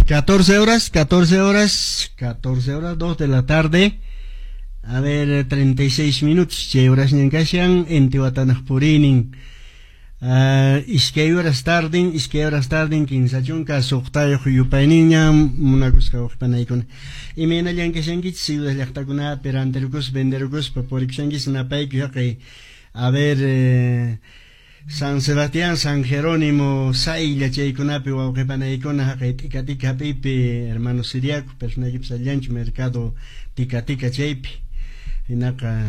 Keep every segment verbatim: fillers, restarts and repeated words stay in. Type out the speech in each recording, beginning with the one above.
catorce horas, catorce horas, catorce horas, dos de la tarde. A ver, treinta y seis minutos, chay horasñan kashan, Intihuatanaq puriynin. Uh, iskay horas tardin, iskay horas tardin, kinsa chunka suqtayuq yupayninña munakusqa waqpanaykuna. Imaynallan kashankichis ciudad llaqtakunapi rantirukuspa, venderukuspa, purikushankichis napayku haqay. A ver, eh, San Sebastián, San Jerónimo, Saylla chaykunapi wawqipanaykuna haqay tika tika hap'iypi hermano siriaco, personaykipas allanchu mercado tika tika chaypi. Hinaqa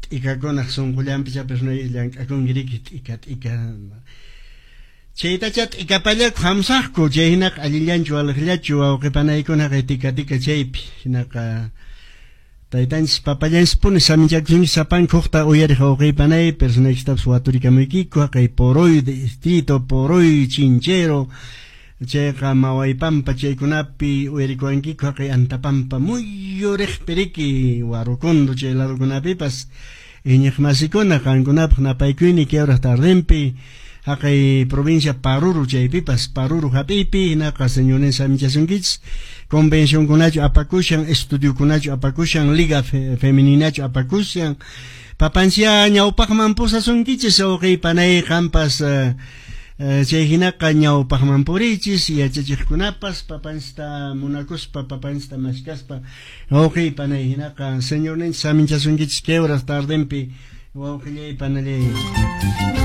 t'ikakunaq sunqullanpi cha personayki llank'akunki riki t'ika t'ika. Chaytacha t'ikapallaku hamsaqku chay hinaqa allillanchu waliqllachu wawqipanaykuna haqay tika tika chaypi. Hinaqa taytanchis papallanchispuni saminchakusunki sapanka hukta uyariq wawqipanay personaykistapas waturikamuykiku haqay Poroy distrito, Poroy Chinchero chayqa Mawaypampa chaykunapi uyarikuwankiku haqay Antapampa muyuriqpi riki Warukundo chay ladokunapipas iñiqmasikuna qankunapaq napaykuyni kay hora tardenpi haqay provincia Paruro chaypipas Paruro hap'iypi hinaqa señores saminchasunkichis convencionkunachu apakushan estudiokunachu apakushan liga fe, femeninachu apakushan papanchia ñawpaqman pusasunkichis wawqipanay qampas uh, uh, chay hinaqa ñawpaqman purichis yachachiqkunapas papanchista munakuspa papanchista mashkaspa wawqipanay hinaqa señorninchis saminchasunkichis kay horas tardenpi wawqillay panallay.